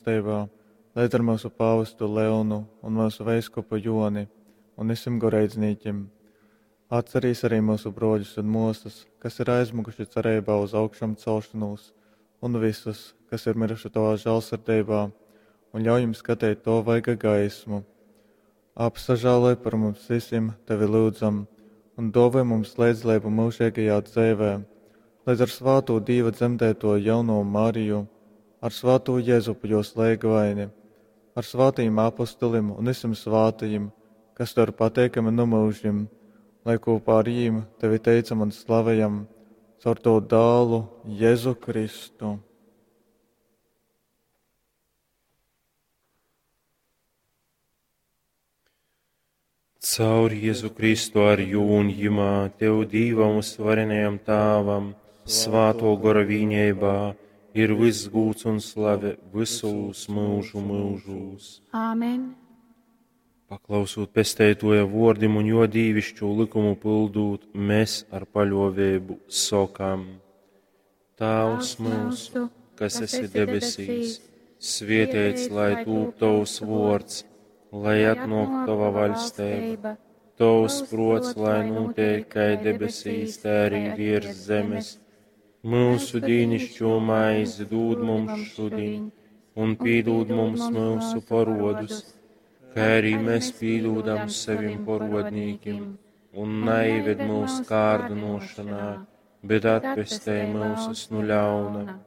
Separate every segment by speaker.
Speaker 1: Teivā, leidz ar myusu pāvestu Leonu un myusu veiskupu Joni un vysim goreidznīkim. Atcerīs arī myusu brōļus un mōsas, kas ir aizmyguši cereibā uz augšamcelšonūs, un vysus, kas ir myruši tovā žālsirdeibā, un ļauj jim skateit tova vaiga gaismu. Apsažāloj par mums vysim, tevi lyudzam, un dōvoj mums leidzdaleibu myužeigajā dzeivē, leidz ar svātū Dīva dzemdētōju jaunovu Mariju, ar svātū Jezupu jōs leigavaini, ar svātajim apostolim un vysim svātajim, kas tev ir pateikami nu myužim, lai kopā ar jīm tevi teicam un slavejam caur tavu dālu Jezu Kristu.
Speaker 2: Caur Jēzu Kristu ar jū un jimā, Tev Dīvam uzvarenajam Tāvam, Svātō Gora vīneibā, ir viss gūds un slave visūs mūžu mūžūs.
Speaker 3: Āmen.
Speaker 2: Paklausūt pesteitoja vordim un jo dīvišķo likumu pildūt, mēs ar paļovēbu sokam: Tāvs mūsu, kas esi debesīs, svietēts lai tūp tavs vords, lai atnāk tava vaļstība, tavs prots, lai notiek kā debesīs, tā arī virs zemes. Mūsu dīnišķo maizi dod mums šodien, un piedod mums mūsu parodus, kā arī mēs piedodam saviem parodnīkiem, un neieved mūsu kārdinošanā, bet atpestē mūsus no ļauna.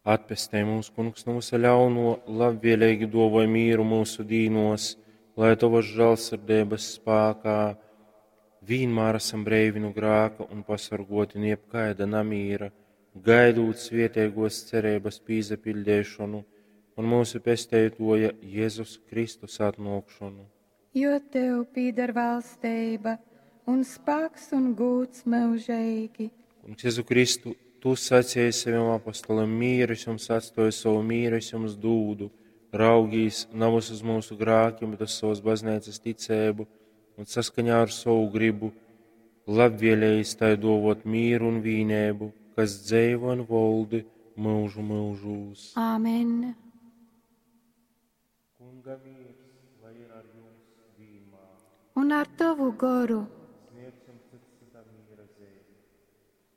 Speaker 2: Atpestē mūs, kungs, no visa ļauno, labvēlīgi dovoj mīru mūsu dīnos, lai tavas žēlsirdības spēkā vienmēr esam breivi no grāka un pasargoti no jebkaida namīra, gaidot svietēgos cerības pīzapildēšanu un mūsu pesteitoja Jēzus Kristus atnākšanu.
Speaker 3: Jo tev pīdar valstība un spēks un gūts mūžīgi.
Speaker 2: Kungs Jēzu Kristu, tu sacīji saviem apostoliem, mīru es jums atstāju, savu mīru es jums dūdu. Raugīs navas uz mūsu grākiem, bet uz savas baznīcas ticēbu un saskaņā ar savu gribu, labvēlējis tai dovot mīru un vīnēbu, kas dzeivo un voldi mūžu mūžūs.
Speaker 3: Āmen.
Speaker 2: Kunga mīrs, lai ir ar jums vienmēr.
Speaker 3: Un ar tavu goru.